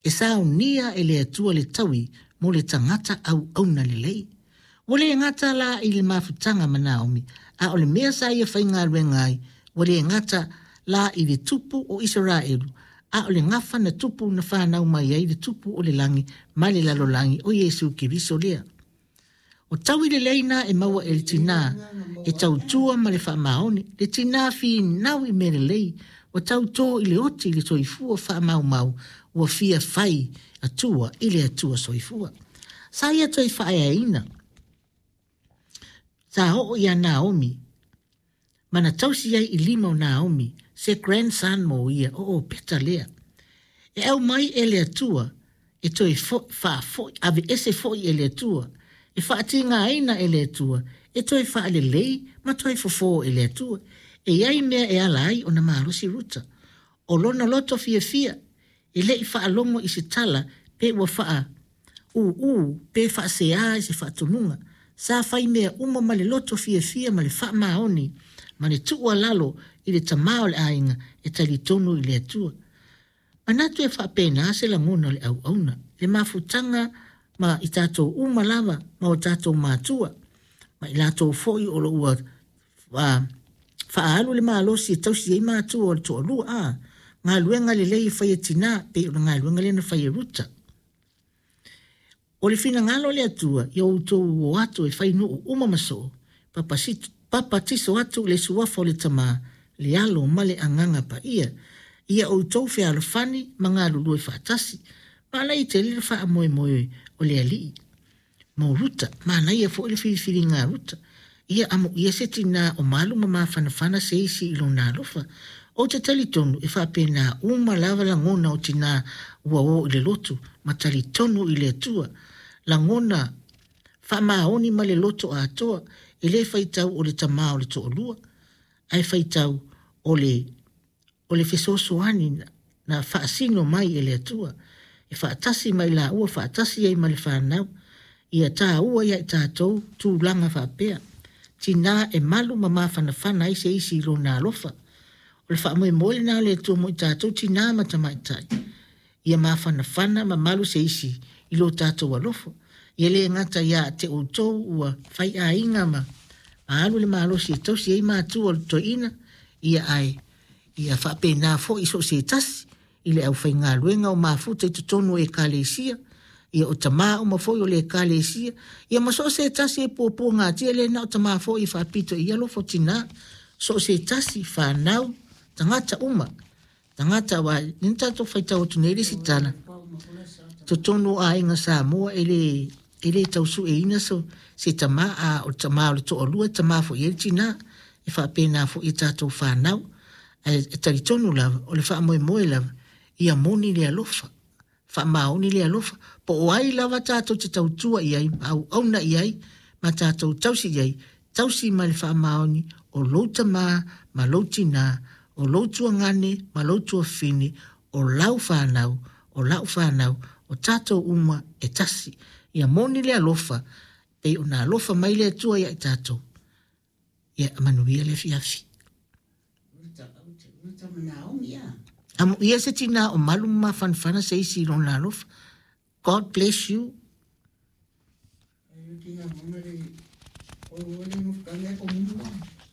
E saunia e le Atua le taui mo le tagata auauna lelei. Ua le gata la i le mafutaga ma Naomi, a o le mea sa ia faigaluega ai, ua le gata la i le tupu o Isaraelu, a o le gafa na tupu na fanau mai ai le tupu o le lagi ma le lalolagi o Iesu Keriso lea. O taui lelei na e maua e le tinā e tautua ma le faamaoni, le tinā finau i mea lelei, ua tautō i le oti i le soifua faamaumau ua fia fai Atua i le Atua soifua. Sa ia toe faaeaina, sa oo iā Naomi ma na tausi ai i lima o Naomi se grandson mo ia, o Opeta lea. E aumai e le Atua e toe faafoi, aveese foi e le Atua, e faatigaina e le Atua, e toe faalelei ma toe fofo e le Atua. E i ai mea e ala ai ona malosi Ruta. O lona loto fiafia, e le i faalogo i se tala pe ua faa ūū pe faaseā i se faatonuga. Sa fai mea uma ma le loto fiafia ma le faamaoni ma le tuualalo i le tamā o le aiga e talitonu i le Atua. Manatu e faapena se lagona o le auauna, le mafutaga ma i tatou uma lava ma o tatou matua, ma i latou foi o lo o ua faaalu le malosi e tausi ai matua o le toalua, a galuega lelei e fai e tinā, pei o le galuega lea na fai e Ruta. O le finagalo o le Atua, ia outou o atu e fai nuu uma ma soo, papatiso atu i le suafa o le Tama, le Alo ma le Agaga Paia. Ia outou fealofani ma galulue faatasi. Manaia tele le faamoemoe o le Alii. Mo Ruta, manaia foi le filifiliga a Ruta. Ia amuia se tinā o malu ma mafanafana se isi i lona alofa. Ou te talitonu e faapena uma lava lagona o tinā ua o i le lotu ma talitonu i le Atua. Lagona faamaoni ma le loto atoa, e le faitau o le tamā o le toalua, ae faitau o le o le fesoasoani na faasino mai e le Atua, e faatasi ma i laua faatasi ai ma le fanau. Ia taua ia i tatou tulaga faapea, tinā e malu ma mafanafana ai se isi i lona alofa. O le faamoemoe lena o le Atua mo i tatou tinā ma tamaitai, ia mafanafana ma malu se isi i lo tatou alofa. Ia le gata ia te outou ua faiaiga ma alu le malosi e tausi ai matua o le toeaina, ia ae ia faapena foi i so o se tasi i le aufaigaluega o mafuta i totonu o Ekalesia, ia o tamā uma foi o le Ekalesia, ia ma so o se tasi e puapuagatia, le na o tamā foi e faapito i alofa o tinā, so o se tasi, fanau, tagata uma. Tagata aua lea na tatou faitau atu nei le isi tala, totonu o aiga Samoa e le e le tau sueina so, se tamā, a o le tamā o le toalua e tamā foi i ai le tinā, e faapena foi i tatou fanau. Ae e talitonu lava, o le faamoemoe lava, ia moni le alofa, faamaoni le alofa, po o ai lava tatou te tautua i ai, ma auauna i ai, ma tatou tausi i ai, tausi mai le faamaoni o lou tamā ma lou tinā, o lou tuagane ma lou tuafafine, o lau fanau, o la'u fanau, o tatou uma e tasi. Ia moni le alofa, pei ona alofa mai le Atua ia i tatou. Ia manuia le afiafi. Amuia se tinā o malu ma mafanafana se isi i lona alofa. God bless you.